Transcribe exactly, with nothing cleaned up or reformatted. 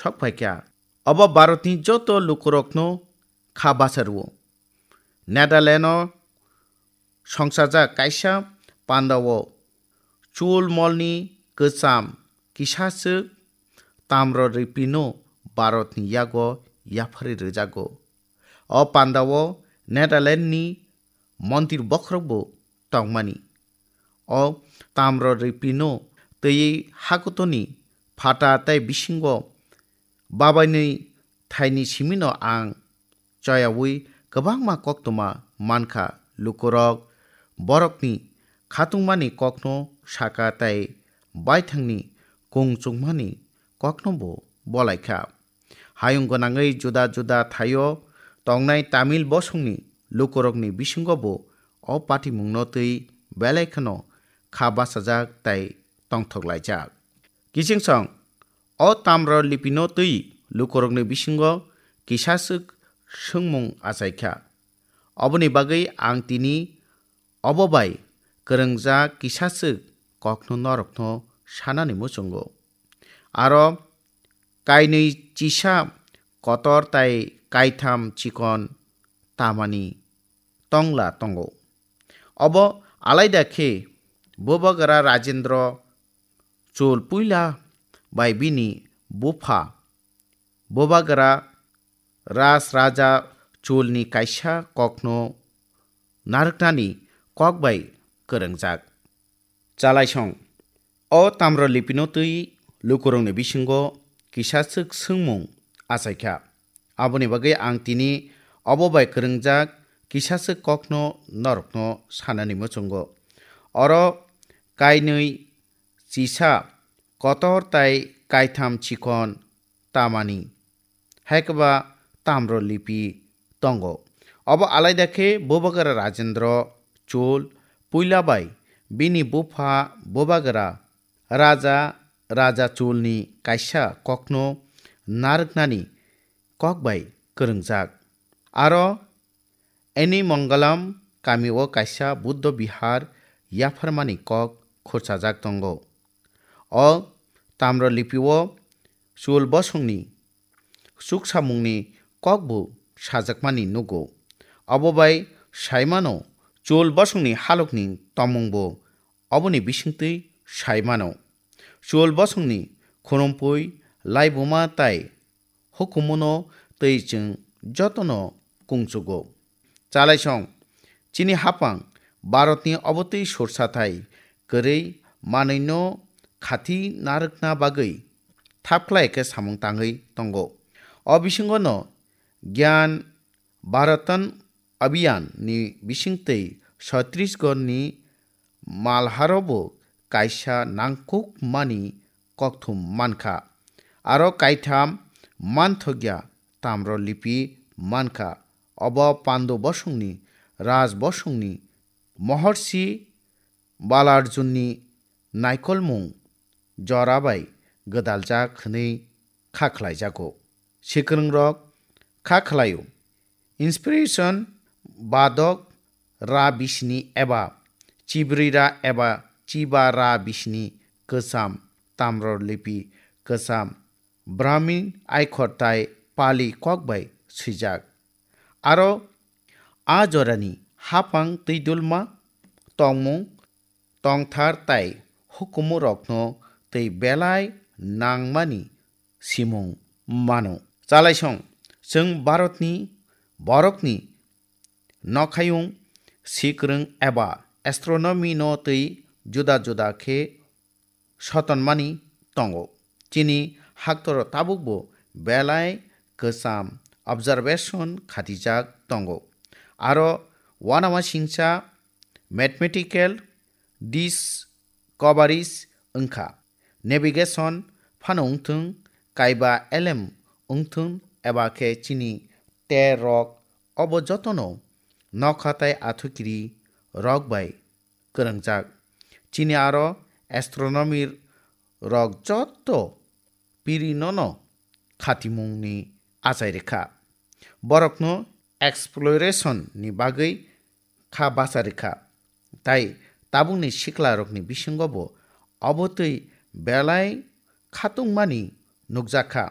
sok phaikha. Obo Bharatni joto lukurokno kha basa rwo. Netherland-o songchajak kaisa pandao chul molni kwcham kisaswk tamro ripino Bharatni yago yapharwi rwjago. O pandao Netherland-ni mondir bokhorokbo tongmani. O tamro ripino twiwi hakutoni phata tei bisingo babainwi thaini simino ang choyaui kwbangma koktwma mankha. Lukurok borokni khatungmani kokno saka tei baithangni kung chukmani koknobo bolaikha. Hayung gwnangwi juda juda thaio tongnai Tamil bosongni lukurokni bisingobo o patimungno twi belai kheno kha bachajak tei tongthok laijak. Kiching song, o tamro lipino twi lukurokni bisingo kisaswk swngmung achaikha. Oboni bagwi ang tini obo bai kwrwngjak kisaswk kokno norokno sanani muchungo. Aro kainwi chisa kotor tai kaitham chikon tamani tongla tongo. Obo alaida khe Bubagra Rajendra Chol puila bai bini bupha Bubagra Raj Raja Cholni kaisa kokno narwknani kok bai kwrwngjak. Chalaisong, o tamro lipino twi lukurokni bisingo kisaswk swngmung achaikha. Aboni bagwi ang tini obo bai kwrwngjak kisaswk kokno norokno sanani muchungo. Oro kainwi chisa kotor tai kaitham chikon tamani, hai khe ba tamro lipi tongo. Obo alaida khe Bubagra Rajendra Chol puila bai bini bupha Bubagra Raja Raja Cholni kaisa kokno narwknani kok bai kwrwngjak. Aro Eni Mangalam kamio kaisa Buddha Vihar yapharmani kok khurchajak tongo. O tamro lipio Chol bosongni chuksamungni kokbo sajakmani nugo. Obo bai saimano Chol bosongni halokni tongmungbo oboni bisingtwi saimano. Chol bosongni khurumphwi laibuma tai hukumuno tei chwng jotono kungchugo. Chalaisong, chini hapang Bharatni obotwi sursathai kwrwi manwino khati narwkna bagwi thapkhlai khe samung tangwi tongo. O bisingono Gyan Bharatan Abhiyan ni bisingtwi Chhattisgarh ni malharobo kaisa nangkukmani kokthum mankha. Aro kaitham manthokya tamro lipi mankha. Obo Pandu bosongni, Raj bosongni, Mahorshi Balarjunni naikolmung jora bai gwdaljak hwnwi kha khlaijago. Swkwngrok kha khlaio. Inspiration badok ra bisini eba chibrira eba chiba ra bisini kwcham tamro lipi kwcham Brahmin aikhor tai Pali kok bai swijak. Aro a jorani hapang twi dulma tongmung tongthar tai hukumurokno tei belai nangmani simung mano. Chalaisong, chwng Bharatni borokni nokhayung sikrwng eba astronomy no twi juda juda khe sotonmani tongo. Chini haktoro tabukbo belai kwcham observation khatijak tongo. Aro uanama singcha mathematical discoveries wngkha. Navigation phano wngthung, kaiba elem wngthung, eba khe chini ter rok, obo jotono nokha tai athukiri rok bai kwrwngjak. Chini aro astronomy rok joto piri nono khatimungni achai rwkha. Borokno exploration ni bagwi kha bacha rwkha. Tai tabukni sikla rokni bisingo bo obo twi belai khatungmani nukjakha.